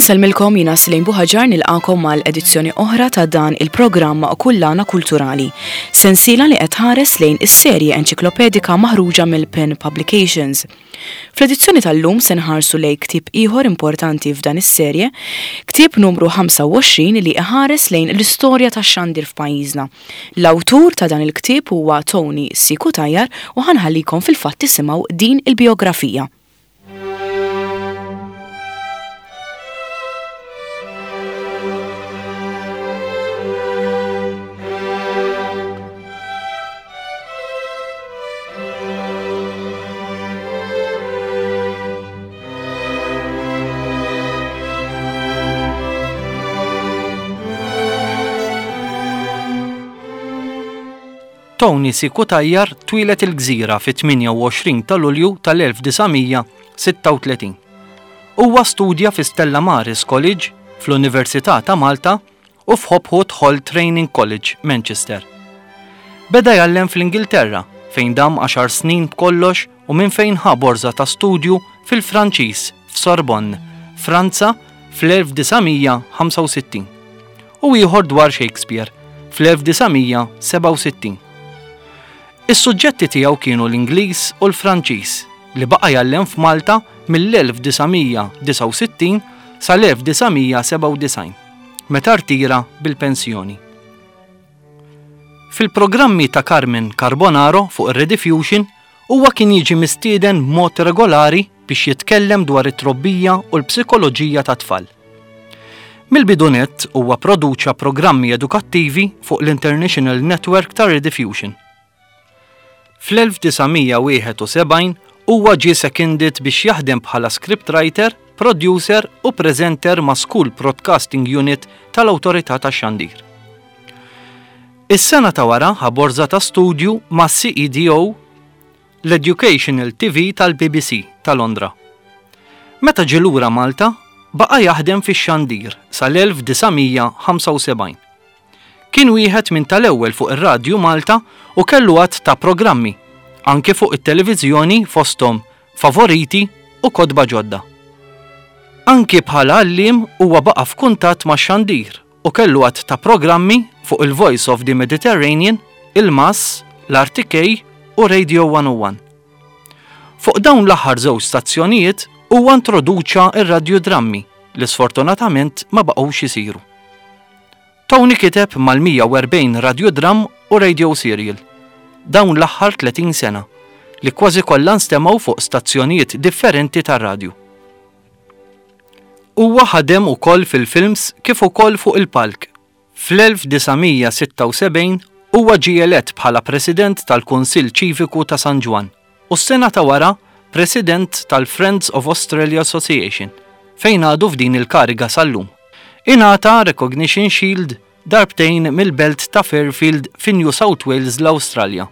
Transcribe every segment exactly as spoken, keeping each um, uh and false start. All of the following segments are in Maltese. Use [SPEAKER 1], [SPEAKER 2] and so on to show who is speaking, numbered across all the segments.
[SPEAKER 1] Insellmilkom, jiena Slejn Buħaġar, nilqagħkom mal edizzjoni oħra ta' dan il-programm Kullana Kulturali. Sensiela li qed tħares lejn is-serje enċiklopedika maħruġa mill-Pen Publications. Fl-edizzjoni tal-lum se nħarsu lejn ktieb ieħor importanti f'dan is-serje, ktieb numru ħamsa u għoxrin li iħares lejn l-istorja tax-xandir f'pajjiżna. L-awtur ta' dan il-ktieb huwa Tony C. Cutajar u ħa nħallikom fil-fatt tisimgħu din il-biografija.
[SPEAKER 2] Tony C. Cutajar twieled il-Gżira fit-tmienja u għoxrin ta' Lulju tal-elf disa' mija sitta u tletin. Huwa studja fi Stella Maris College fl-Università ta' Malta u f'Hopwood Hall Training College, Manchester. Beda jgħallem fl-Ingilterra, fejn dam għaxar snin b'kollox u minn fejn ħa borza ta' studju fil-Franċiż f'Sorbonne, Franza, fl-elf disa' mija ħamsa u sittin u ieħor dwar Shakespeare fl-elf disa' mija sebgħa u sittin. Is-suġġetti tiegħu kienu l-Ingliż u l-Franċiż, li baqa' jgħallem f'Malta mill-elf disa' mija disgħa u sittin sal-elf disa' mija sebgħa u disgħin, meta rtira bil-pensjoni. Fil-programmi ta' Carmen Carbonaro fuq ir-Rediffusion huwa kien jiġi mistieden b'mod regolari biex jitkellem dwar it-trobbija u l-psikoloġija ta' tfal. Mill-bidu nett huwa produċa programmi edukattivi fuq l-International Network ta' Rediffusion. Fl-elf disa' mija wieħed u sebgħin huwa ġie seconded biex jaħdem bħala scriptwriter, producer u presenter ma' School Broadcasting Unit tal-Awtorità tax-Xandir. Is-sena ta' wara ħa borza ta' studju ma' C E D O, l-Educational T V tal-B B C ta' Londra. Meta ġie lura Malta, baqa' jaħdem fix-xandir sal-elf disa' mija ħamsa u sebgħin. Kien wieħed minn tal-ewwel fuq ir-Radju Malta u kellu għadd ta' programmi, anke fuq it-televiżjoni, fosthom Favoriti u Kotba Ġodda. Anki bħala għalliem huwa baqa' f'kuntatt ma' xandir u kellu għadd ta' programmi fuq il-Voice of the Mediterranean, il-Mass, l-R T K u Radio one oh one. Fuq dawn l-aħħar żewġ stazzjonijiet huwa introduċa ir-radjodrammi li sfortunatament ma baqgħux isiru. Tony kiteb mal-mija u erbgħin radiodram u radio serial dawn l-aħħar tletin sena, li kważi kollha nstemgħu fuq stazzjonijiet differenti tar-radju. Huwa ħadem ukoll fil-films kif ukoll fuq il-palk. Fl-elf disa' mija sitta u sebgħin huwa ġie elett bħala President tal-Kunsill Ċiviku ta' San Ġwann u s-sena ta' wara President tal-Friends of Australia Association, fejn għadu f'din il-kariga sal-lum. Ingħata Recognition Shield darbtejn mill-belt ta' Fairfield fi New South Wales, l-Awstralja.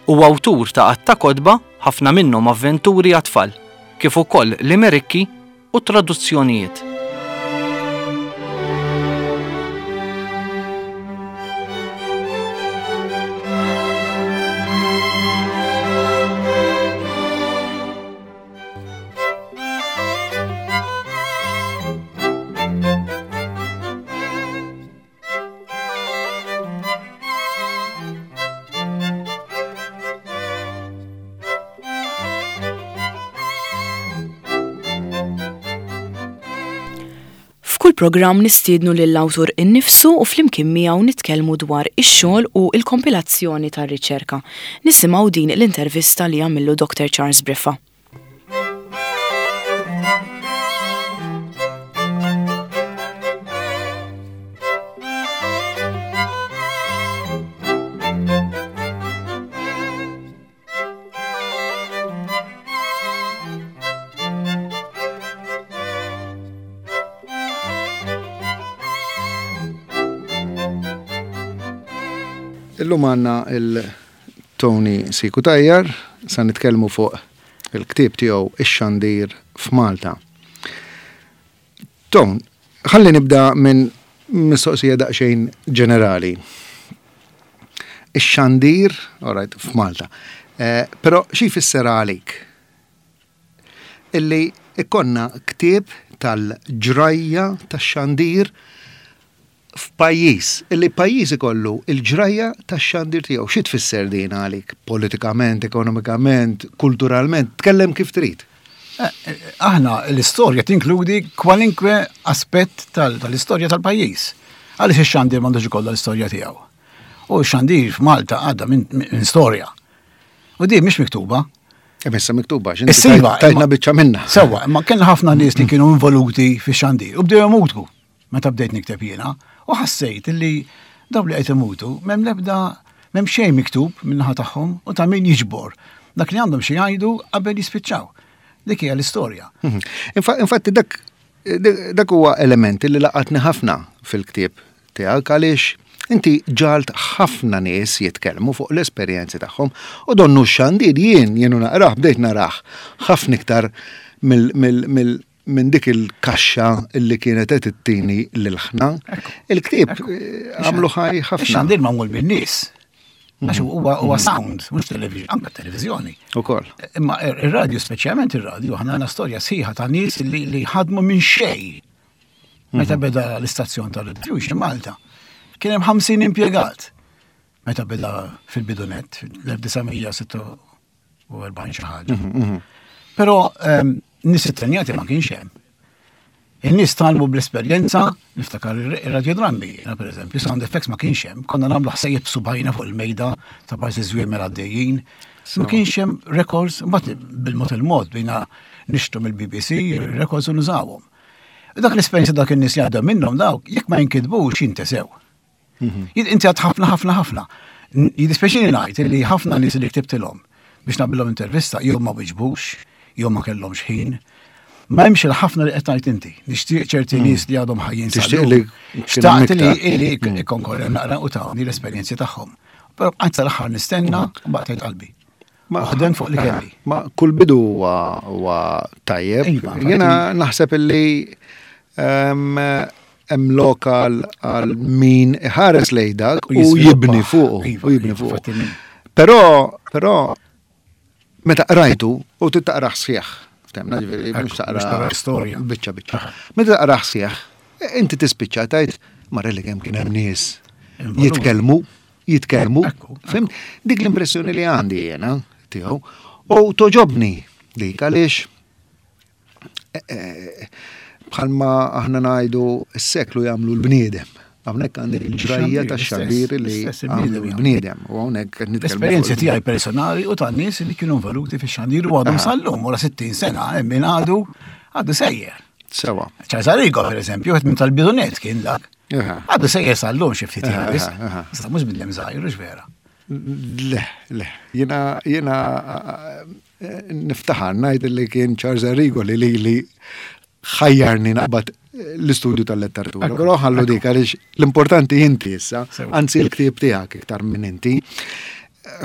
[SPEAKER 2] U awtur ta' għadd ta' kotba, ħafna minnhom avventuri għat-tfal, kif ukoll limerikki u traduzzjonijiet.
[SPEAKER 1] F'kull programm nistiednu lill-awtur innifsu u flimkien miegħu nitkellmu dwar ix-xogħol u l-kompilazzjoni tar-riċerka. Nisimgħu din l-intervista li għamillu Doctor Charles Briffa.
[SPEAKER 3] Illum għandna il-Tony C. Cutajar, sa nitkellmu fuq il-ktieb tiegħu Ix-Xandir f'Malta. Ton, ħalli nibda minn mistoqsija daqsxejn ġenerali. Ix-xandir, all right, f'Malta. Eh, però xi jfisser għalik? Illi Ikollna ktieb tal-ġrajja tax-xandir f'pajjiż, illi pajjiż ikollu il-ġrajja tax-xandir tiegħu. Xi tfisser din għalik? Politikament, ekonomikament, kulturalment, tkellem kif trid.
[SPEAKER 4] Eh, eh, aħna l-istorja tinkludi kwalinkwe aspett tal-istorja tal-pajjiż. Għaliex ix-xandir m'għandux ikollha l-istorja tiegħu? U x-xandir f'Malta għadda minn storja. U di mhix miktuba.
[SPEAKER 3] Issa miktuba, x'inti tajtna biċċa minna.
[SPEAKER 4] Sewwa, imma kellna ħafna nies li kienu involuti fix-xandir u bdew imutu meta bdejt nikteb jiena u ħassejt li daw li qed imutu m'hemm l-ebda, m'hemm xejn miktub min-naħa tagħhom u ta' min jiġbor dak li għandhom xi jgħidu qabel jispiċċaw. Dik hija l-istorja.
[SPEAKER 3] Mhm. Infatti dak dak huwa element li laqatni ħafna fil-ktieb tiegħek, għaliex inti ġalt ħafna nies jitkellmu fuq l-esperjenzi tagħhom u donnu x-xandir jien jienu naqrah bdejt narah ħafna iktar minn dik il-kaxxa li kienet qed ittini lil-ħna. Il-ktieb għamlu ħaj ħafna.
[SPEAKER 4] Ix-xandir magħmul bin-nies. Għax huwa huwa sound, mhux television, anke televiżjoni.
[SPEAKER 3] Ukoll.
[SPEAKER 4] Imma ir-radju, speċjalment ir-radju, aħna għandna storja sħiħa ta' nies li li ħadmu minn xejn. Meta beda l-istazzjon tal-Rediffusion Malta, kien hemm ħamsin impjegat. Meta beda fil-bidunet, fil-elf disa' mija sitta u erbgħin xi ħaġa. Però nies ittrenjati ma kienx hemm. In-nies tgħallmu bl-esperjenza, niftakar ir-radiodrammi, jiena pereżempju, sound effects ma kienx hemm, konna nagħmlu ħsejjeb subgħajna fuq il-mejda ta' parsi żwiemel għaddejjin. Ma kienx hemm records, mbagħad bil-mod il-mod bdejna nixtru mill-B B C records u nużawhom. Dak l-esperjenza dak in-nies jgħaddu minnhom dawk, jekk ma jinkitbux jintesew. Inti għad ħafna, ħafna, ħafna. Jiddispjaċini ngħid li ħafna nies li ktibtilhom biex nagħmilhom intervista jew ma wiġbux, jew ma kellhomx ħin. Ma hemmx il-ħafna li qed tgħid inti. Nixtieq ċerti nies li għadhom ħajjin.
[SPEAKER 3] Tixtieq li
[SPEAKER 4] xtaqt li li ikon korre naqra u tawni l-esperjenzi tagħhom. Però bqajt sal-aħħar nistenna u baqgħet qalbi.
[SPEAKER 3] Ma
[SPEAKER 4] ħdem fuq li kelli.
[SPEAKER 3] Ma kull bidu huwa tajjeb.
[SPEAKER 4] Iva,
[SPEAKER 3] Jiena naħseb illi hemm lokal għal min iħares lejn dak u jibni fuq
[SPEAKER 4] Iva,
[SPEAKER 3] u jibni
[SPEAKER 4] iva,
[SPEAKER 3] fuq.
[SPEAKER 4] infatti min.
[SPEAKER 3] Però però meta qrajtu u titaqraħ sħiħ, temna ġifieri mhux
[SPEAKER 4] mhux
[SPEAKER 3] taqra
[SPEAKER 4] taqra storja.
[SPEAKER 3] biċċa biċċa. Meta taqraħ sħiħ, inti tispiċċa tajt marre li kemm kien hemm nies
[SPEAKER 4] Involuti.
[SPEAKER 3] jitkellmu, jitkellmu.
[SPEAKER 4] Ekku,
[SPEAKER 3] Fhimt? Dik l-impressjoni li għandi jiena tiegħu u togħġobni dik għaliex eh, eh, bħalma aħna ngħidu s-seklu jagħmlu l-bniedem. Hawnhekk għandek il-ġrajja
[SPEAKER 4] Ix-xandir,
[SPEAKER 3] tax-xandir
[SPEAKER 4] l-istess,
[SPEAKER 3] li
[SPEAKER 4] l-istess
[SPEAKER 3] għamlu
[SPEAKER 4] il-bniedem jagħmlu.
[SPEAKER 3] l-bniedem. U hawnhekk qed nitkellmu fuq
[SPEAKER 4] L-esperjenzi
[SPEAKER 3] il-
[SPEAKER 4] tiegħi personali u tan nies li kienu involuti fix-xandir u għadhom sal-lum wara sittin sena hemm min għadu għadu sejjer.
[SPEAKER 3] Sewa.
[SPEAKER 4] Charles Arrigo, per eżempju, għet minn tal-bidunet kien dak.
[SPEAKER 3] Aha.
[SPEAKER 4] Għadu sejjer sal-lum xi ftit
[SPEAKER 3] Aha,
[SPEAKER 4] biss.
[SPEAKER 3] aha.
[SPEAKER 4] Issa mhux bniedem żgħir, hux vera?
[SPEAKER 3] Le, le, jena, jena eh, niftaħar ngħid li kien Charles Arrigo li li li ħajjarni naqbad l-istudju tal-letteratura.
[SPEAKER 4] Ekku,
[SPEAKER 3] Però ħallu dik għaliex l-importanti inti issa,
[SPEAKER 4] Sewa.
[SPEAKER 3] anzi l-ktieb tiegħek iktar minn inti.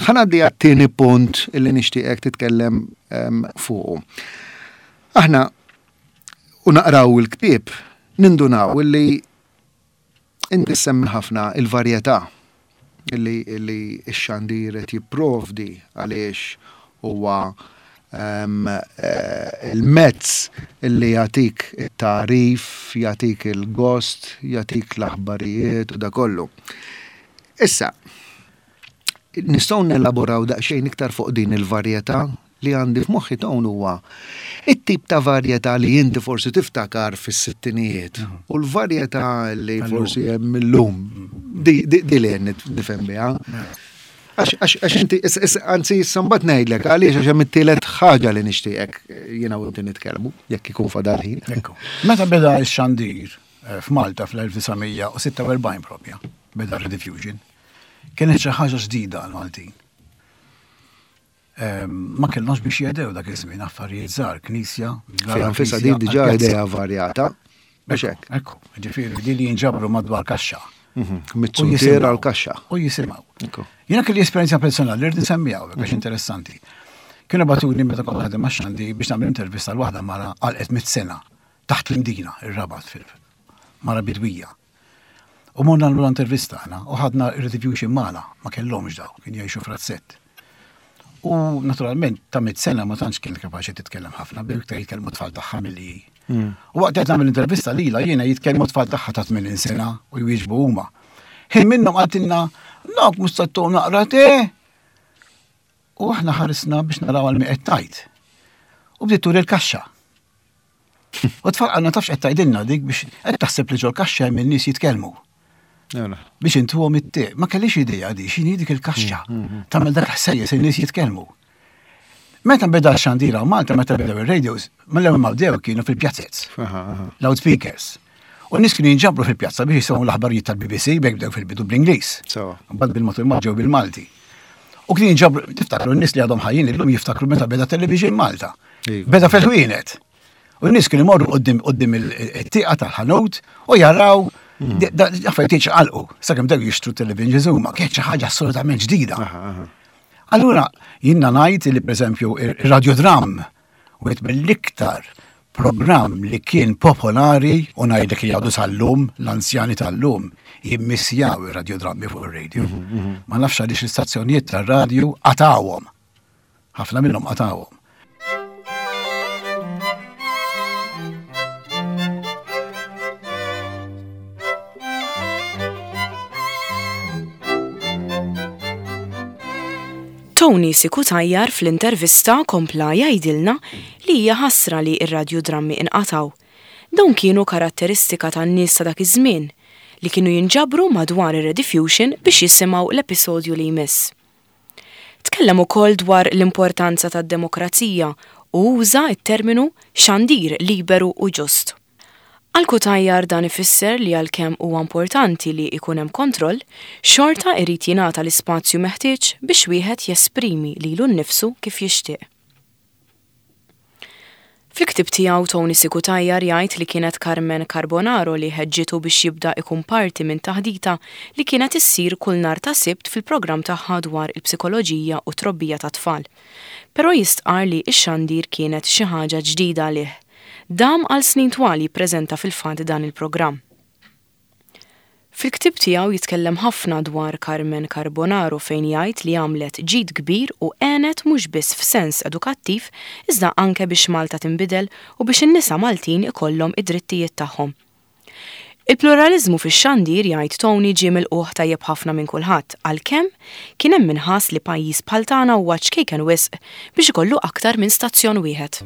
[SPEAKER 3] Ħa ngħaddi għat-tieni punt illi nixtieqek titkellem em, fuqu. Aħna u naqraw il-ktieb nindunaw illi inti semmi ħafna il-varjetà illi illi x-xandir qed jipprovdi għaliex huwa em, eh, il-mezz illi jagħtik it-tarif, jagħtik il-gost, jagħtik l-aħbarijiet u da kollu. Issa, nistgħu nelaboraw daqsxejn iktar fuq din il-varjetà li għandi f'moħħi dawn huwa it-tip ta' varjetà li inti forsi tiftakar fis-sittinijiet u l-varjetà li
[SPEAKER 4] Tal-lum.
[SPEAKER 3] forsi hemm illum. Di, di, di li qed nifhem biha. Għax, għax, għax inti, is- is- anzi, issa mbagħad ngħidlek għaliex, għax hemm it-tielet ħaġa li nixtieqek jiena u inti nitkellmu, jekk ikun fadal ħin.
[SPEAKER 4] Ekku. Meta beda x-xandir eh, f'Malta fl-elf disa' mija u sitta u erbgħin propja, beda Rediffusion, kienet xi ħaġa ġdida għal-Maltin. Ehm, Ma kellhomx biex jedew dak iż-żmien, affarijiet żgħar, knisja,
[SPEAKER 3] Fiha nfisha din diġà idea varjata. Biex hekk.
[SPEAKER 4] Ekku, ġifieri di li jinġabru madwar kaxxa.
[SPEAKER 3] Mhm.
[SPEAKER 4] U
[SPEAKER 3] Mit-suntier
[SPEAKER 4] jisimgħu.
[SPEAKER 3] għal kaxxa.
[SPEAKER 4] U jisimgħu.
[SPEAKER 3] Ekku.
[SPEAKER 4] Jiena kelli esperjenza personali li rrid nsemmiha hawnhekk għax interessanti. Kienu bagħtuni meta kont naħdem max-xandi biex nagħmel intervista l waħda mara għalqet mit sena taħt l-Imdina, ir-Rabat fil mara bidwija. U morna nagħmlu intervista aħna u ħadna Rediffusion magħna, ma kellhomx daw, kien jgħixu frazzett. U naturalment ta' mitt sena ma tantx kienet kapaċi titkellem ħafna, bdew iktar jitkellmu tfal tagħha milli. U waqt qed nagħmel intervista lilha jiena jitkellmu tfal tagħha ta' tmenin sena u jwieġbu huma. Ħin minnhom qaltilna, "Nok mhux se naqra te." U aħna ħarisna biex naraw għal min qed tgħid. U bdiet turi l-kaxxa. U tfal qalna tafx qed tgħidilna dik biex qed taħseb li ġol-kaxxa hemm in-nies jitkellmu. Biex intuhom it-te. Ma kellix idea di x'inhi dik il-kaxxa. Tagħmel dak ħsejjes in-nies jitkellmu. Meta beda x-xandira u Malta meta bdew ir-radios, mill-ewwel ma bdew kienu fil-pjazzez, loudspeakers. U n-nies kienu jinġabru fil-pjazza biex jisimgħu l-aħbarijiet tal-B B C bejk bdew fil-bidu bl-Ingliż. Mbagħad bil-motur ma ġew bil-Malti. U kienu jinġabru, tiftakru n-nies li għadhom ħajjin illum jiftakru meta beda television Malta. Beda fil-ħwienet. U n-nies kienu jmorru quddiem quddiem it-tieqa tal-ħanut u jaraw affarijiet jiċċaqalqu. Sakemm bdew jixtru television huma kienet xi ħaġa assolutament ġdida. Allura, jiena ngħid li pereżempju ir-radiodram wieħed mill-iktar programm li kien popolari u ngħidlek li għadu sal-lum, l-anzjani tal-lum jimmissjaw ir-radiodrammi fuq ir-radio. Ma nafx għaliex l-istazzjonijiet tar-radju qatawhom. Ħafna minnhom qatawhom.
[SPEAKER 1] Tony Cutajar fl-intervista kompla jgħidilna li hija ħasra li r-radiodrammi inqataw. Dawn kienu karatteristika tan-nies ta' dak iż-żmien li kienu jinġabru madwar ir-Rediffusion biex jisimgħu l-episodju li jmiss. Tkellem ukoll dwar l-importanza tad-demokrazija u uża t-terminu xandir liberu u ġust. Għal Cutajar dan ifisser li għalkemm huwa importanti li jkun hemm kontroll, xorta irid jingħata l-ispazju meħtieġ biex wieħed jesprimi lilu nnifsu kif jixtieq. Fil-ktieb tiegħu Tony Cutajar jgħid li kienet Carmen Carbonaro li ħeġġitu biex jibda ikun parti minn taħdita li kienet issir kull nhar ta' Sibt fil-programm tagħha dwar il-psikoloġija u trobbija ta' tfal. Però jistqar li x-xandir kienet xi ħaġa ġdida għalih. Dam għal snin twal jippreżenta fil-fatt dan il-programm. Fil-ktieb tiegħu jitkellem ħafna dwar Carmen Carbonaro fejn jgħid li għamlet ġid kbir u għenet mhux biss f'sens edukattiv iżda anke biex Malta tinbidel u biex in-nisa Maltin ikollhom id-drittijiet tagħhom. Il-pluralizmu fix-xandir jgħid Tony ġie milqugħ tajjeb ħafna minn kulħadd għalkemm kien hemm minħass li pajjiż bħal tagħna huwa ċkejken wisq biex ikollu aktar minn stazzjon wieħed.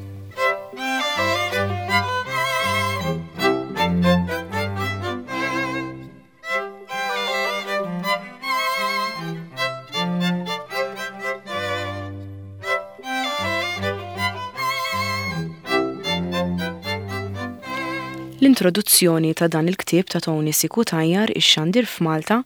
[SPEAKER 1] L-introduzzjoni ta' dan il-ktieb ta' Tony Cutajar ix-xandir f'Malta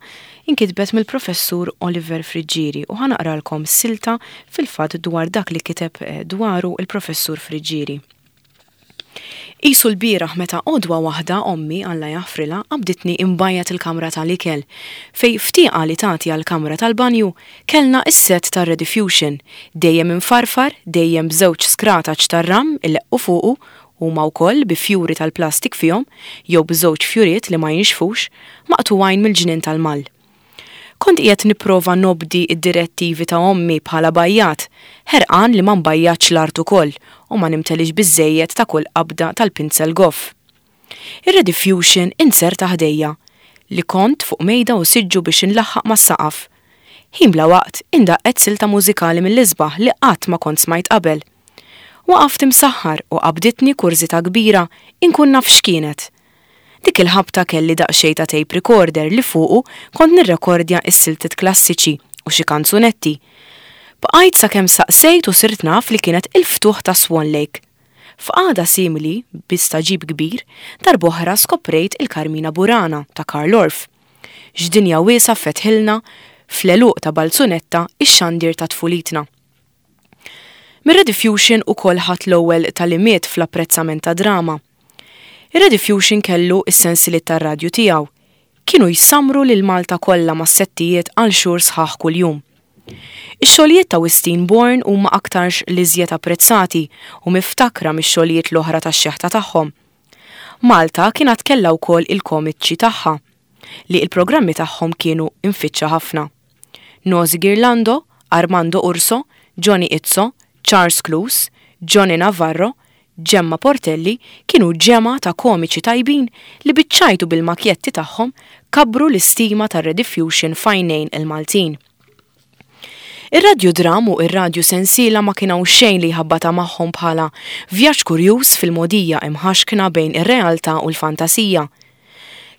[SPEAKER 1] inkitbet mill-professur Oliver Friggieri u ħanaqralkom silta fil-fatt dwar dak li kiteb dwaru il-professur Friggieri. Isu l-bieraħ meta għodwa waħda ommi Alla jaħfrilha qabditni imbajjat il-kamra tal-ikel fej ftieqa li tagħti għall-kamra tal-banju kellna is-set tar-Rediffusion dejjem infarfar, dejjem b'żewġ skrataċ tar-ram illeqqu fuqu huma wkoll bi fjuri tal-plastik fihom jew b'żewġ fjuriet li ma jinxfux maqtugħin mill-ġnien tal-mall. Kont qiegħed nipprova nobdi id-direttivi ta' ommi bħala bajjat, ħerqan li ma nbajjatx l-art ukoll u ma nimtelix biżejjed ta' kull qabda tal-pinzel goff. Ir-Rediffusion inserta ħdejja li kont fuq mejda u siġġu biex inlaħħaq mas-saqaf. Ħin bla waqt indaqqet silta mużikali mill-isbaħ li qatt ma kont smajt qabel. Waqaft imsaħħar u qabditni kurżità kbira inkun naf x'kienet. Dik il-ħabta kelli daqsxejn ta' tape recorder li fuqu kont nirrekordja s-siltiet klassiċi u xi kanzunetti. Bqajt sakemm saqsejt u sirt naf li kienet il-ftuħ ta' Swan Lake. F'qagħda simili, bi staġib kbir, darb'oħra skoprejt il-Carmina Burana ta' Carl Orff. X'dinja wiesgħa fetħilna fl-għeluq ta' Balzunetta ix-xandir ta' tfulitna. Mir-Rediffusion ukoll ħadd l-ewwel talimiet fl-apprezzament ta' drama. Ir-Rediffusion kellu s-sensiliet tar-radju tiegħu. Kienu jsamru lil Malta kollha mas-settijiet għal xhur sħaħ kuljum. Ix-xogħlijiet ta' Wistin Born huma aktarx l-iżjed apprezzati u miftakra mix-xogħlijiet l-oħra tax-xeħta tagħhom. Malta kienet kellha wkoll il-komiċi tagħha, li l-programmi tagħhom kienu infittxa ħafna. Nozi Ghirlando, Armando Urso, Johnny Izzo, Charles Cluse, Johnny Navarro, Gemma Portelli kienu ġemgħa ta' komiċi tajbin li biċ-ċajt u bil-makjetti tagħhom kabbru l-istima tar-Rediffusion f'għajnejn il-Maltin. Ir-radjudram u ir-radju sensiela ma kien hawn xejn li jħabbata magħhom bħala vjaġġ kurjuż fil-mogħdija imħaxkna bejn ir-realtà u l-fantasija.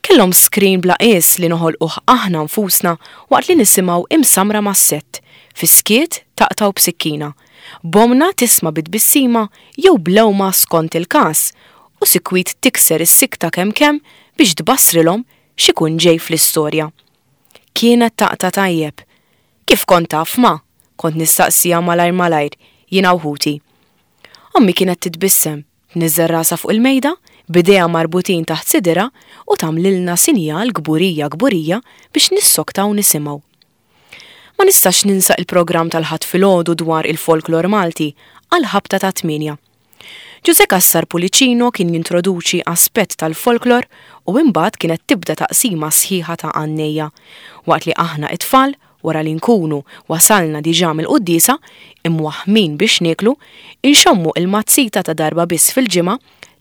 [SPEAKER 1] Kellhom screen bla qies li noħolquh aħna nfusna waqt li nisimgħu imsamra mas-sett, fis-skiet taqtgħu b'sikkina, b'ommna tisma' bi tbissima jew b'lewma skont il-każ u sikwit tikser is-sikta kemm kemm biex tbassrilhom x'ikun ġej fl-istorja. Kienet taqta' tajjeb. Kif kont taf ma? Kont nistaqsiha malajr malajr, jiena u ħuti. Ommi kienet titbissem, tniżżel rasha fuq il-mejda, b'idejha marbutin taħt sidirha u tagħmlilna sinjal kburija kburija biex nissoktaw nisimgħu. Ma nistax ninsa il-programm tal-Ħadd filgħodu dwar il-folklor Malti għal ħabta ta' tmienja. Ġuże Cassar Pulicino kien jintroduċi aspett tal-folklor u imbagħad kienet tibda taqsima sħiħa ta' għannejja, waqt li aħna it-tfal, wara li nkunu wasalna diġà mill-quddiesa, imwaħmin biex nieklu, inxommu il-mazzita ta' darba biss fil-ġimgħa,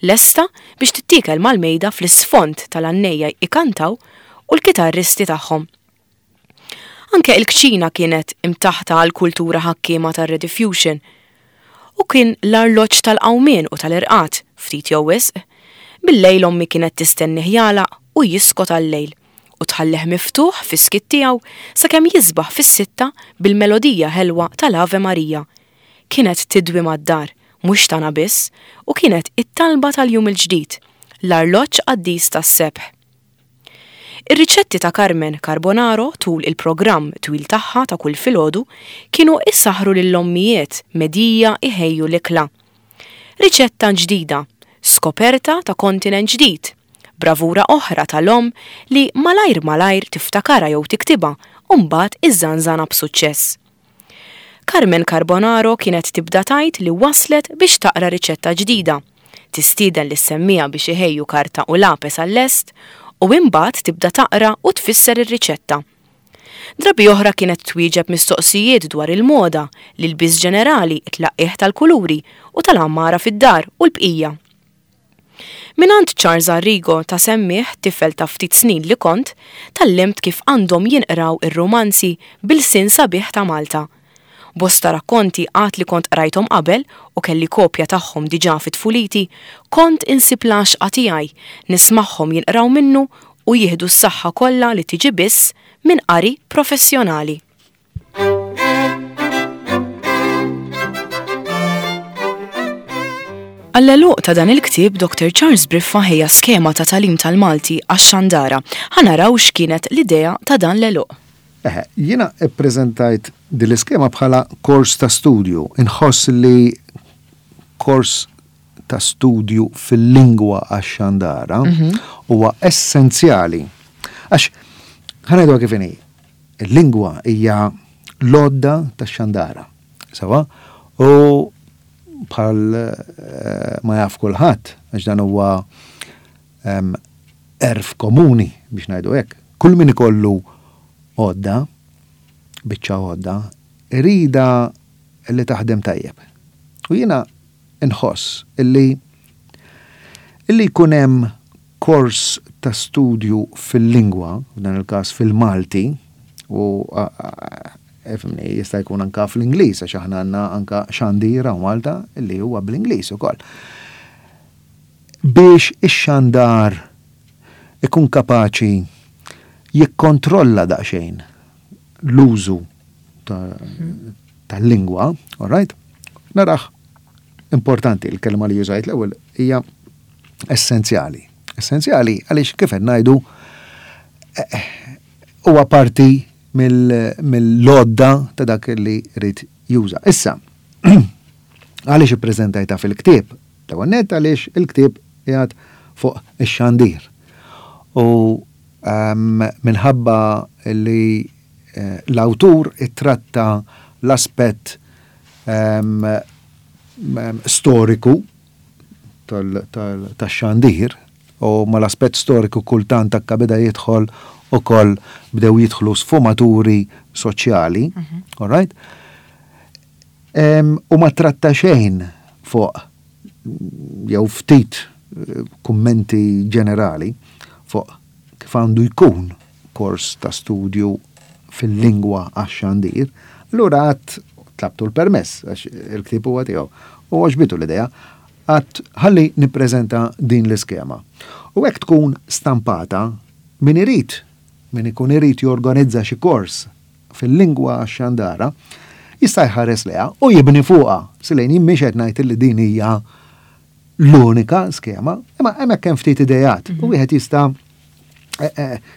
[SPEAKER 1] lesta biex tittiekel mal-mejda fl-isfond tal-għannejja ikantaw u l-kitarristi tagħhom. Anke il-kċina kienet imtaħta għal kultura ħakkiema tar-Rediffusion. U kien l-arloġġ tal-qawmien u tal-irqat, ftit jew wisq. Bil-lejl ommi kienet tistennih jagħlaq u jiskot għal-lejl u tħallih miftuħ fis-skiet tiegħu sakemm jisbaħ fis-sitta bil-melodija ħelwa tal-Ave Maria. Kienet tidwi mad-dar, mhux tagħna biss, u kienet it-talba tal-jum il-ġdid, l-arloġġ qaddis tas-sebħ. Ir-riċetti ta' Carmen Carbonaro tul il-programm twil tagħha ta' kull filgħodu kienu issaħru lill-ommijiet medija iħejju l-ikla. Riċetta ġdida, skoperta ta' kontinent ġdid, bravura oħra tal-om li malajr malajr tiftakara jew tiktibha u mbagħad iżżanżana b'suċċess. Carmen Carbonaro kienet tibda tgħid li waslet biex taqra riċetta ġdida, tistieden lis-semmija biex iħejju karta u lapes għal-lest u imbagħad tibda taqra u tfisser ir-riċetta. Drabi oħra kienet twieġeb mistoqsijiet dwar il-moda, l-ilbies ġenerali, it-tlaqqih tal-kuluri u tal-għammara fid-dar u l-bqija. Minant Charles Arrigo ta' semmieħ tifel ta' ftit snin li kont, tgħallimt kif għandhom jinqraw ir-romanzi bil-sin sabiħ ta' Malta. Bosta rakkonti għad li kont qrajthom qabel u kelli kopja tagħhom diġà fi tfuliti, kont insib l-għaxqa tiegħi, nismagħhom jinqraw minnu u jieħdu s-saħħa kollha li tiġi biss minn qari professjonali. Għall-għeluq ta' dan il-ktieb, Doctor Charles Briffa ħejja skema ta' tagħlim tal-Malti għax-xandara. Ħa naraw x'kienet l-idea ta' dan l-għeluq.
[SPEAKER 3] Eħe, jiena ppreżentajt din l-iskema bħala kors ta' studju. Inħoss li kors ta' studju fil-lingwa għax-xandara
[SPEAKER 1] Mhm.
[SPEAKER 3] huwa essenzjali. Għax, ħa ngħidu kif inhi, il-lingwa hija l-għodda tax-xandara. Sawa? U bħal, eh, ma jaf kulħadd, għax dan huwa, em, erf komuni biex ngħidu hekk. Kull min ikollu għodda, biċċa għodda, irida li taħdem tajjeb. U jiena nħoss illi, illi jkun hemm kors ta' studju fil-lingwa, f'dan il-każ fil-Malti, u, a, a, efimni, jista' jkun anka fl-Ingliż, għax aħna għandna anka xandira u Malta illi huwa bl-Ingliż ukoll. Biex ix-xandar ikun kapaċi jikkontrolla daqsxejn l-użu ta-, tal-lingwa, all right? Narax importanti, il-kelma li użajt l-ewwel hija essenzjali. Essenzjali għaliex kif qed ngħidu, eh, huwa parti mill-, mill-lodda ta' dak li rrid juża. Issa, għaliex ippreżentajta fil-ktieb? L-ewwel nett għaliex il-ktieb qiegħed fuq ix-xandir. U, ehm, minħabba li, eh, l-awtur ittratta l-aspett, ehm, ehm, storiku tal-, tal-, tax-xandir, u mal-aspett storiku kultant akka beda jidħol ukoll bdew jidħlu sfumaturi soċjali,
[SPEAKER 1] Mhm.
[SPEAKER 3] all right? U ma tratta xejn fuq jew ftit kummenti ġenerali fuq kif għandu jkun kors ta' studju fil-lingwa għax-xandir, allura għedt tlabtu l-permess, għax il-ktieb huwa tiegħu. U għoġbitu l-idea, għedt ħalli nippreżenta din l-iskema. U hekk tkun stampata min irid, min ikun irid jorganizza xi kors fil-lingwa għax-xandara, jista' jħares lejha u jibni fuqha. Silejn jien mhix qed ngħid li din hija l-unika skema, imma hemmhekk hemm ftit idejat u wieħed jista'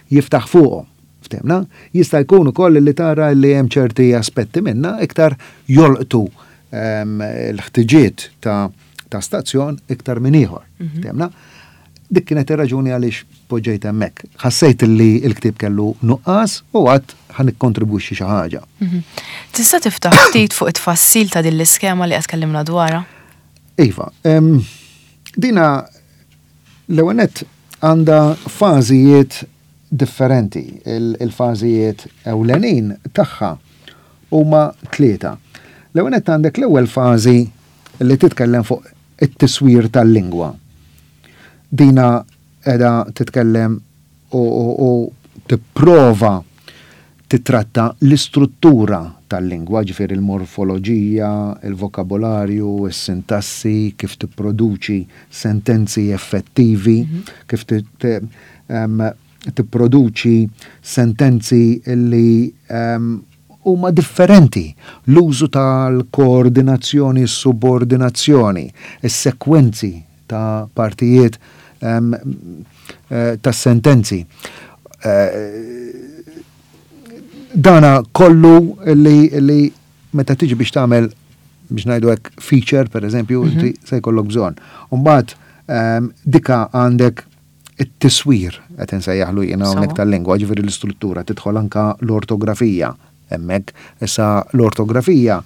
[SPEAKER 3] jiftaħ fuqhom. Ftemna, jista' jkun ukoll li tara li hemm ċerti aspetti minna iktar jolqtu l-ħtiġiet ta' ta' stazzjon iktar minn ieħor. Ftemna, dik kienet ir-raġuni għaliex poġġejt hemmhekk. Ħassejt li l-ktieb kellu nuqqas u għedt ħa nikkontribwixxi xi ħaġa.
[SPEAKER 1] Tista' tiftaħ ftit fuq it-tfassil ta' din l-iskema li qed tkellimna dwarha?
[SPEAKER 3] Iva, dina l-ewwel nett għandha fażijiet differenti. Il-fażijiet ewlenin tagħha huma tlieta. L-ewwel nett għandek l-ewwel fażi li titkellem fuq it-tiswir tal-lingwa. Dina qiegħda titkellem u tipprova titratta l-istruttura tal-lingwa, ġifieri il-morfoloġija, il-vokabolarju, is-sintassi, kif tipproduċi sentenzi effettivi, kif tipproduċi sentenzi li huma differenti. L-użu tal-koordinazzjoni, subordinazzjoni, is-sekwenzi ta' partijiet ta' sentenzi. Dana kollu li, li meta tiġi biex tagħmel biex ngħidu hekk feature, per eżempju, inti se jkollok bżonn. Mbagħad dika għandek it-tiswir qed insejjaħlu jiena hawnhekk tal-lingwa, ġifieri l-istruttura, tidħol anka l-ortografija hemmhekk. Issa l-ortografija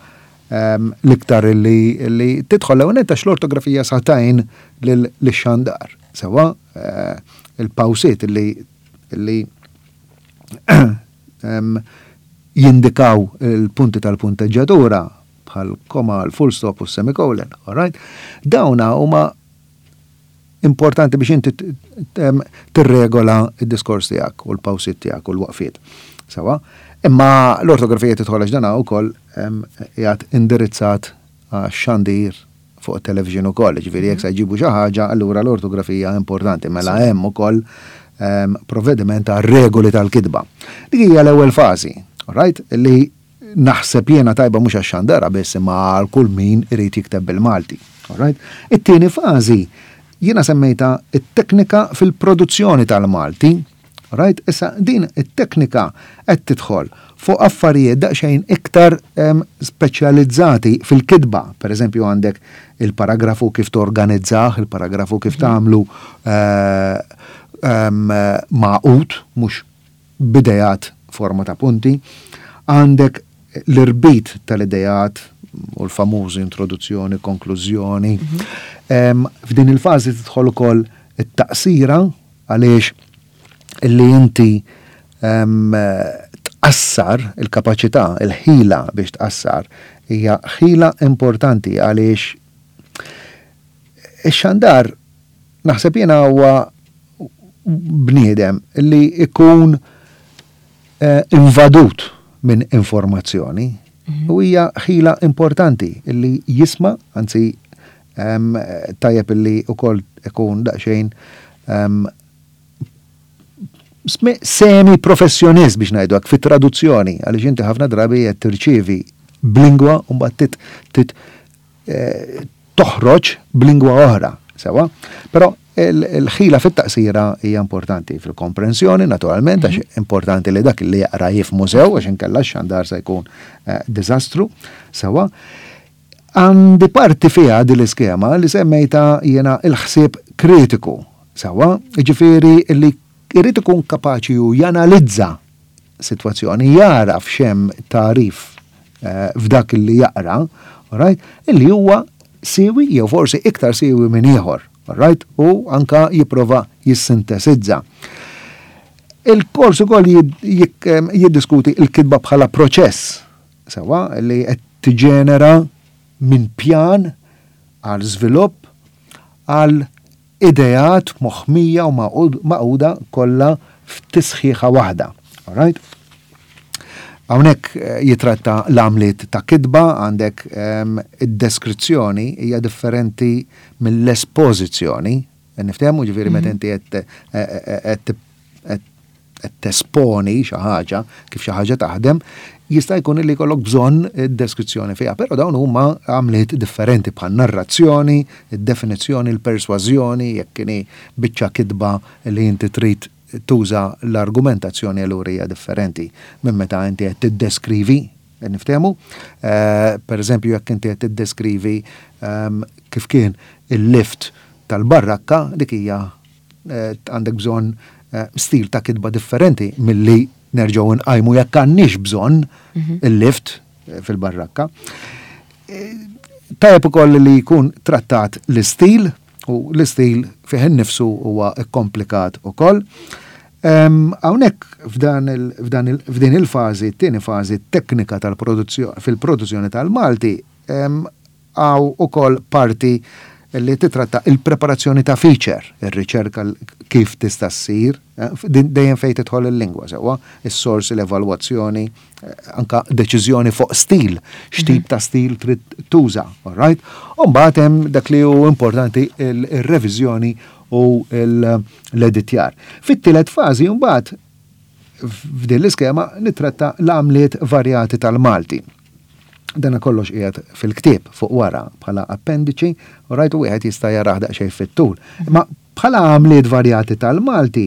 [SPEAKER 3] l-iktar li, li tidħol l għax l-ortografija sa tgħin lix-xandar. Sewa il-pawsiet li li jindikaw il-punti tal-punteġġatura bħal koma, l-full stop u semicolon, all right? Dawna huma importanti biex inti tirregola id-diskors tiegħek u l-pawsiet tiegħek u l-waqfiet. Sewa? Imma l-ortografija tidħol għax dana wkoll qiegħed indirizzat għax-xandir fuq television ukoll, ġifieri jekk se jġibu xi ħaġa, allura l-ortografija importanti, mela hemm ukoll provvediment ta' regoli tal-kitba. Dik hija l-ewwel fażi, right? Li naħseb jiena tajba mhux għax-xandara biss imma għal kull min irid jikteb bil-Malti. Right? It-tieni fażi jiena semmejta it-teknika fil-produzzjoni tal-Malti. Right? Issa din it-teknika qed tidħol fuq affarijiet daqsxejn iktar speċjalizzati fil-kitba. Per eżempju għandek il-paragrafu kif torganizzah, il-paragrafu kif tagħmlu magħqud, mhux b'idejat forma ta' punti. Għandek l-irbit tal-idejat u l-famużi introduzzjoni, konklużjoni. F'din il-fażi tidħol ukoll it-taqsira għaliex illi inti tqassar il-kapaċità, il-ħila biex tqassar, hija ħila importanti għaliex ix-xandar naħseb jiena huwa bniedem li ikun invadut minn informazzjoni. U hija ħila importanti illi jisma', anzi tajjeb illi ukoll ikun daqsxejn semi professjonist biex ngħidu hekk fit-traduzzjoni, għaliex inti ħafna drabi qed tirċievi b'lingwa u mbagħad tit toħroġ b'lingwa oħra, sewa? Però il-ħila fit-taqsira hija importanti fil-komprensjoni, naturalment, għax importanti li dak li jaqra jifhmu sew, għax inkella x-xandar se jkun diżastru, sewa. Għandi parti fiha din l-iskema li semmejta jiena il-ħsieb kritiku, sewa, ġifieri li jrid ikun kapaċi ju janalizza sitwazzjoni, jara f'xemm tarif f'dak li jaqra, right, illi huwa siwi jew forsi iktar siwi minn ieħor. Right? U anka jipprova jissintesizza. Il-kors ukoll jiddiskuti il-kitba bħala proċess, sewa, li qed tiġenera Minn pjan għal żvilupp għal ideat moħmija u maquda kollha f'tisħiħa waħda. Alright? Hawnhekk eh, jitratta l-għamliet ta' kitba, għandek ehm, id-deskrizzjoni hija differenti mill-espożizzjoni. Niftehmu, ġifieri meta mhm. inti qed eh, eh, tesponi xi ħaġa, kif xi ħaġa taħdem, jista' jkun li jkollok bżonn deskrizzjoni fiha, però dawn huma għamliet differenti bħal narrazzjoni, id-definizzjoni, il-persważjoni, jekk kien biċċa kitba li inti trid tuża l-argumentazzjoni, allura hija differenti minn meta inti qed tiddeskrivi, niftehmu. Eh, per eżempju, jekk inti qed tiddeskrivi ehm, kif kien il-lift tal-barrakka, dik hija eh, għandek bżonn eh, stil ta' kitba differenti milli nerġgħu nqajmu jekk għandniex bżonn mhm. il-lift fil-barrakka. Tajjeb ukoll li jkun trattat l-istil, u l-istil fih innifsu huwa komplikat ukoll. Hawnhekk f'din il-fażi, t-tieni fażi, teknika tal-produzzjoni fil-produzzjoni tal-Malti, hawn ukoll parti li titratta il-preparazzjoni ta' feature, ir-riċerka kif tista' ssir, eh, dejjem fejn tidħol il-lingwa sewwa, is-sorsi, l-evalwazzjoni, eh, anka deċiżjoni fuq stil, x'tip mhm. ta' stil trid tuża, all right? U mbagħad hemm dak li hu importanti, il-reviżjoni u l-editjar. Fit-tielet fażi mbagħad f'din l-iskema nitratta l-għamliet varjati tal-Malti. Dana kollox qiegħed fil-ktieb fuq wara bħala appendiċi, u rajtu wieħed jista' jarah daqsxejn fit-tul. Ma bħala għamliet varjati tal-Malti,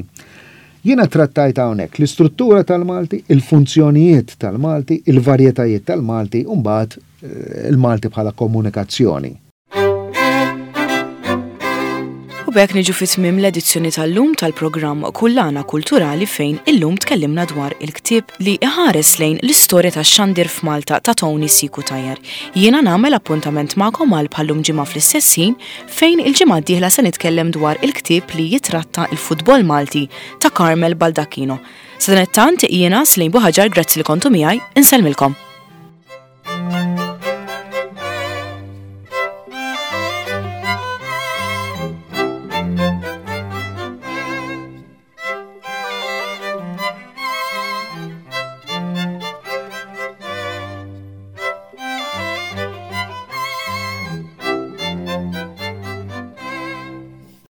[SPEAKER 3] jiena trattajt hawnhekk l-istruttura tal-Malti, il-funzjonijiet tal-Malti, il-varjetajiet tal-Malti, u mbagħad eh, il-Malti bħala komunikazzjoni.
[SPEAKER 1] U b'hekk niġu fi tmiem l-edizzjoni tal-lum tal-programm Kullana Kulturali, fejn illum tkellimna dwar il-ktieb li iħares lejn l-istorja tax-xandir f'Malta ta' Tony C. Cutajar. Jiena nagħmel appuntament magħkom għal bħallum ġimgħa fl-istess ħin, fejn il-ġimgħa d-dieħla se nitkellem dwar il-ktieb li jitratta il-futbol Malti ta' Carmel Baldacchino. Sadanittant jiena Slejn Buħaġar, grazzi li kontu miegħi, insellmilkom.